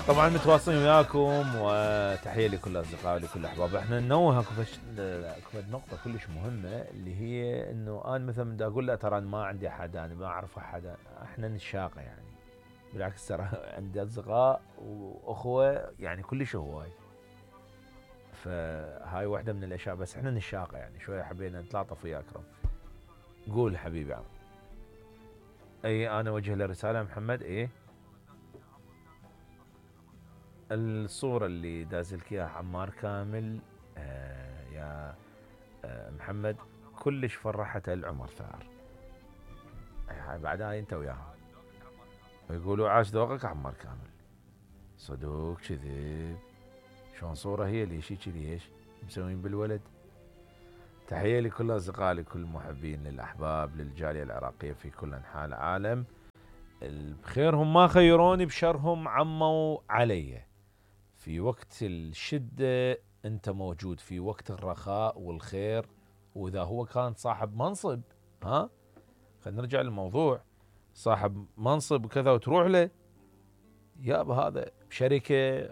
طبعا متواصلين وياكم، وتحيه لكل اصدقائي ولكل الاحباب. احنا ننوه اكو نقطه كلش مهمه، اللي هي انه انا مثلا بدي اقول له ترى ما عندي حدا، انا ما اعرف حدا، احنا نشاقه يعني. بالعكس ترى عندي اصدقاء واخوه يعني كلش هواي. فهاي واحده من الاشياء، بس احنا نشاقه يعني شويه، حبينا نتلاطف ويا اكرم. قول حبيبي عم. اي انا اوجه له رساله محمد. ايه الصورة اللي دازلك اياها عمار كامل يا محمد كلش فرحته العمر ثار. هاي بعدها انت وياهم يقولوا عاش ذوقك عمار كامل. صدوق كذب؟ شلون صورة هي اللي شي كذي ايش مسوين بالولد؟ تحية لكل اصدقائي، لكل المحبين، للاحباب، للجالية العراقية في كل انحاء العالم. بخيرهم ما خيروني، بشرهم عموا علي. في وقت الشدة أنت موجود، في وقت الرخاء والخير. وإذا هو كان صاحب منصب، خلينا نرجع للموضوع، صاحب منصب وكذا وتروح له، يابا هذا بشركة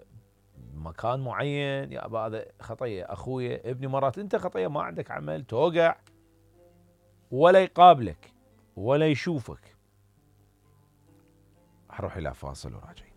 مكان معين، يابا هذا خطية أخويا ابني. مرات أنت خطية ما عندك عمل، توقع ولا يقابلك ولا يشوفك. أروح إلى فاصل وراجع.